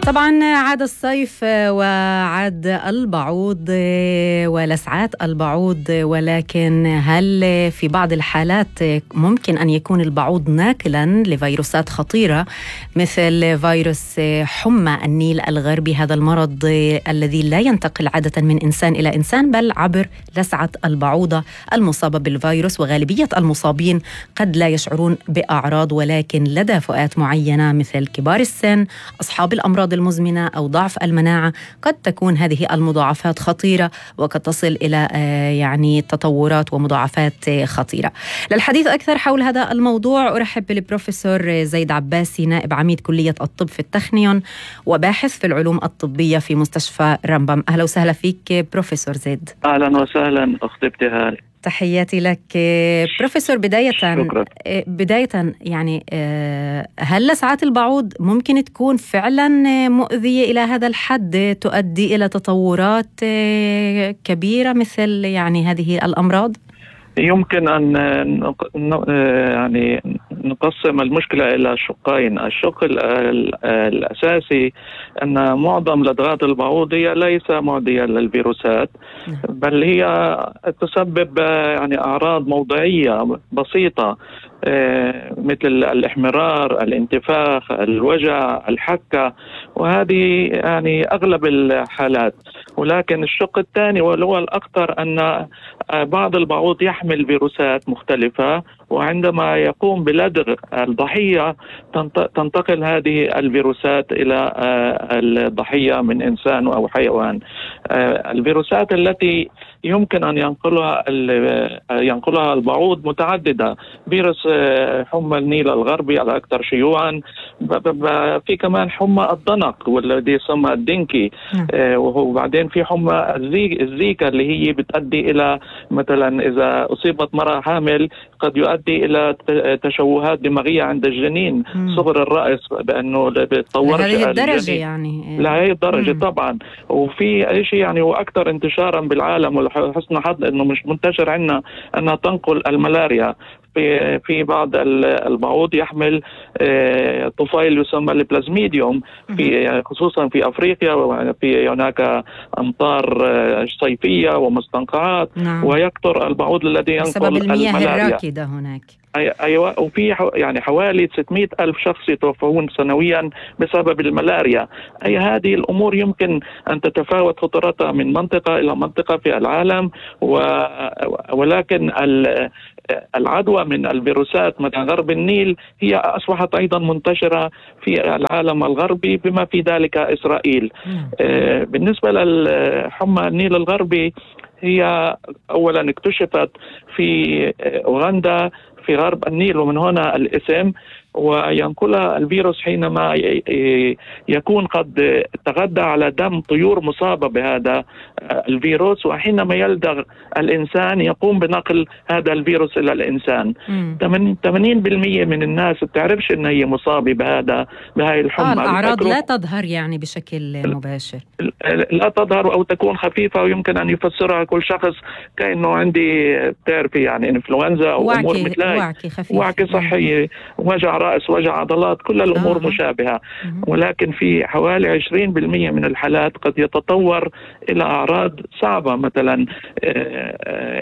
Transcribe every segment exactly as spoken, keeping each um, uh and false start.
طبعا عاد الصيف وعاد البعوض ولسعات البعوض، ولكن هل في بعض الحالات ممكن أن يكون البعوض ناقلا لفيروسات خطيرة مثل فيروس حمى النيل الغربي، هذا المرض الذي لا ينتقل عادة من إنسان إلى إنسان بل عبر لسعة البعوضة المصابة بالفيروس، وغالبية المصابين قد لا يشعرون بأعراض، ولكن لدى فئات معينة مثل كبار السن، أصحاب الأمراض المزمنة أو ضعف المناعة قد تكون هذه المضاعفات خطيرة وقد تصل إلى يعني تطورات ومضاعفات خطيرة. للحديث أكثر حول هذا الموضوع أرحب بالبروفيسور زيد عباسي، نائب عميد كلية الطب في التخنيون وباحث في العلوم الطبية في مستشفى رمبم. أهلا وسهلا فيك بروفيسور زيد. أهلا وسهلا أختي ابتهال، تحياتي لك بروفيسور. بداية شكرا. بداية يعني هل لسعات البعوض ممكن تكون فعلا مؤذية إلى هذا الحد تؤدي إلى تطورات كبيرة مثل يعني هذه الأمراض؟ يمكن أن يعني نقسم المشكلة إلى شقين. الشق الأساسي أن معظم لدغات البعوض هي ليس معدية للفيروسات، بل هي تسبب يعني أعراض موضعية بسيطة مثل الإحمرار، الانتفاخ، الوجع، الحكة، وهذه يعني أغلب الحالات. ولكن الشق الثاني وهو الأخطر أن بعض البعوض يحمل فيروسات مختلفة، وعندما يقوم بلدغ الضحية تنتقل هذه الفيروسات إلى الضحية من إنسان أو حيوان. الفيروسات التي يمكن أن ينقلها ينقلها البعوض متعددة. فيروس حمى النيل الغربي الأكثر شيوعا، في كمان حمى الضنك والذي يسمى الدنكي، وبعدين في حمى الزيكا اللي هي بتؤدي إلى مثلا إذا أصيبت مرأة حامل قد يؤدي إلى تشوهات دماغية عند الجنين، صغر الرأس، بأنه بتطور هذه الدرجة يعني لهذه الدرجة. مم. طبعا وفي شيء يعني هو أكثر انتشارا بالعالم، ولحسن حظ أنه مش منتشر عندنا، أنها تنقل الملاريا. في في بعض البعوض يحمل طفيل يسمى البلازميديوم، في خصوصا في افريقيا، وفي هناك امطار صيفيه ومستنقعات. نعم. ويكثر البعوض الذي ينقل بسبب المياه الملاريا الراكده هناك. أيوة. وفي يعني حوالي ستمائة ألف شخص يتوفون سنويا بسبب الملاريا. أي هذه الأمور يمكن أن تتفاوت خطورتها من منطقة إلى منطقة في العالم، ولكن العدوى من الفيروسات مثل غرب النيل هي أصبحت أيضا منتشرة في العالم الغربي بما في ذلك إسرائيل. آه بالنسبة للحمى النيل الغربي، هي أولا اكتشفت في أوغندا في غرب النيل، ومن هنا الاسم، وينقلها الفيروس حينما يكون قد تغذى على دم طيور مصابة بهذا الفيروس، وحينما يلدغ الإنسان يقوم بنقل هذا الفيروس إلى الإنسان. ثمانين بالمئة من الناس بتعرفش إن هي مصابة بهذا بهاي الحمى. آه الأعراض لا تظهر يعني بشكل مباشر، لا تظهر أو تكون خفيفة، ويمكن أن يفسرها كل شخص كأنه عندي بتعرفي يعني إنفلونزا أو أمور مثل وعكي خفيف، وعكي صحي، وجع رأس، وجع عضلات، كل الأمور آه. مشابهة. ولكن في حوالي عشرين بالمئة من الحالات قد يتطور إلى أعراض صعبة، مثلا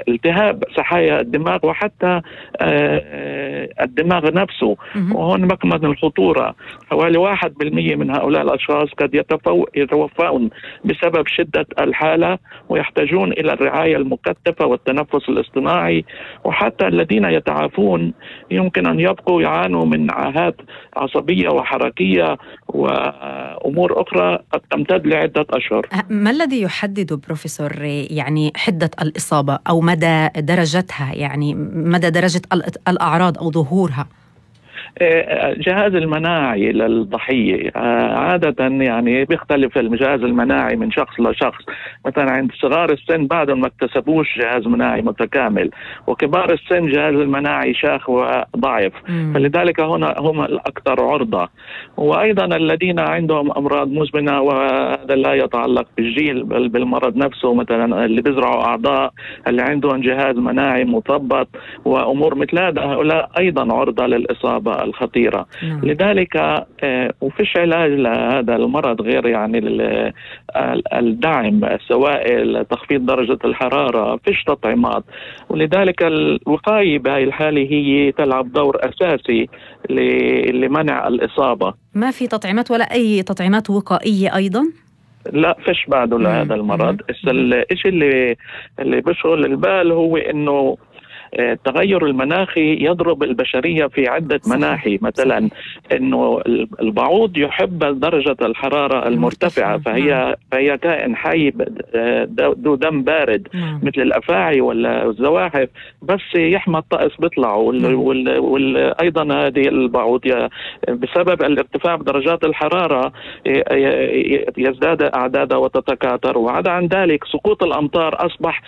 التهاب سحايا الدماغ وحتى الدماغ نفسه. وهون مكمن الخطورة، حوالي واحد بالمئة من هؤلاء الأشخاص قد يتوفون بسبب شدة الحالة ويحتاجون إلى الرعاية المكثفة والتنفس الاصطناعي. وحتى الذين يتعافون يمكن أن يبقوا يعانوا من عاهات عصبية وحركية وأمور أخرى قد تمتد لعدة أشهر. ما الذي يحدد بروفيسور يعني حدة الإصابة أو مدى درجتها، يعني مدى درجة الأعراض أو ظهورها؟ الجهاز المناعي للضحية عادة يعني بيختلف الجهاز المناعي من شخص لشخص. مثلا عند صغار السن بعدهم ما اكتسبوش جهاز مناعي متكامل، وكبار السن جهاز المناعي شاخ وضعيف، فلذلك هنا هم الأكثر عرضة. وأيضا الذين عندهم أمراض مزمنة، وهذا لا يتعلق بالجيل بل بالمرض نفسه، مثلا اللي بيزرعوا أعضاء، اللي عندهم جهاز مناعي مثبط وأمور مثل هذا، هؤلاء أيضا عرضة للإصابة الخطيرة. نعم. لذلك آه وفيش علاج لهذا المرض غير يعني الدعم السوائل، تخفيض درجة الحرارة، فيش تطعيمات. ولذلك الوقاية بهاي الحالة هي تلعب دور أساسي لمنع الإصابة. ما في تطعيمات ولا أي تطعيمات وقائية أيضا؟ لا، فيش بعده لهذا المرض. الشيء اللي اللي بيشغل البال هو إنه التغير المناخي يضرب البشرية في عدة مناحي. مثلا إنه البعوض يحب درجة الحرارة المرتفعة، فهي فهي كائن حي ذو دم بارد مثل الأفاعي ولا الزواحف، بس يحمى الطقس بيطلعوا. وأيضا هذه البعوض بسبب الارتفاع بدرجات الحرارة يزداد أعدادها وتتكاثر. وعدا عن ذلك سقوط الأمطار أصبح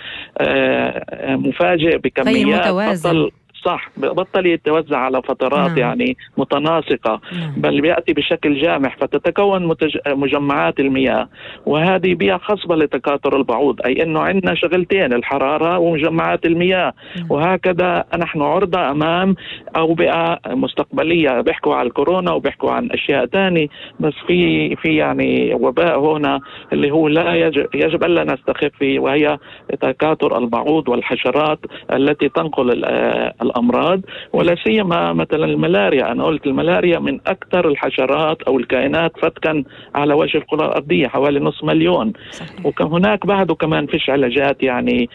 مفاجئ بكميات بطل صح بطل يتوزع على فترات نعم. يعني متناسقة نعم. بل بيأتي بشكل جامح، فتتكون متج... مجمعات المياه، وهذه بيئة خصبة لتكاثر البعوض. أي أنه عندنا شغلتين، الحرارة ومجمعات المياه نعم. وهكذا نحن عرضة أمام أوبئة مستقبلية. بيحكوا عن الكورونا وبيحكوا عن أشياء تانية، بس في في يعني وباء هنا اللي هو لا يجب, يجب ألا نستخف فيه، وهي تكاثر البعوض والحشرات التي تنقل الأمراض، ولا سيما مثلا الملاريا. أنا قلت الملاريا من أكثر الحشرات أو الكائنات فتكا على وجه الكرة الأرضية، حوالي نصف مليون. وهناك بعده كمان فيش علاجات يعني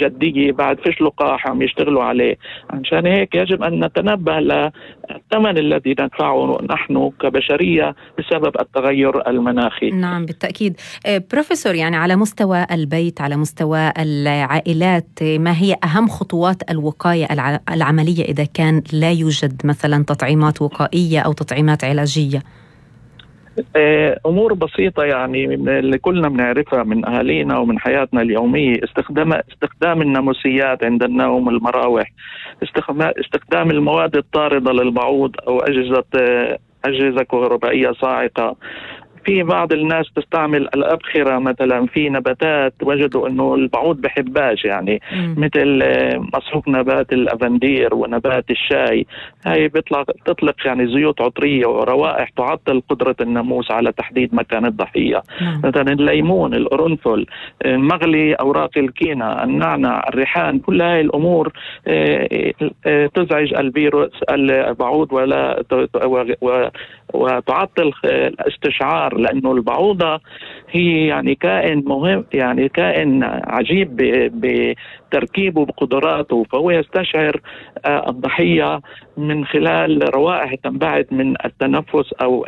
جدية، بعد فيش لقاح عم يشتغلوا عليه. عشان هيك يجب أن نتنبه للثمن الذي ندفعه نحن كبشرية بسبب التغير المناخي. نعم بالتأكيد. بروفيسور، يعني على مستوى البيت، على مستوى العائلات، ما هي أهم خطوات الوقاية العملية إذا كان لا يوجد مثلا تطعيمات وقائية أو تطعيمات علاجية؟ أمور بسيطة يعني اللي كلنا بنعرفها من أهالينا ومن حياتنا اليومية. استخدام استخدام الناموسيات عند النوم، المراوح، استخدام المواد الطاردة للبعوض أو أجهزة أجهزة كهربائية صاعقة. في بعض الناس تستعمل الأبخرة مثلا في نباتات، وجدوا أنه البعوض بحباش يعني م. مثل مصحوف نبات الأفندير ونبات الشاي. هاي بيطلع تطلق يعني زيوت عطرية وروائح تعطل قدرة الناموس على تحديد مكان الضحية. م. مثلا الليمون، القرنفل، مغلي أوراق الكينة، النعنع، الريحان، كل هاي الأمور تزعج الفيروس البعوض ولا وتعطل الاستشعار، لأنه البعوضة هي يعني كائن مهم، يعني كائن عجيب بتركيبه بقدراته، فهو يستشعر الضحية من خلال روائح تنبعث من التنفس أو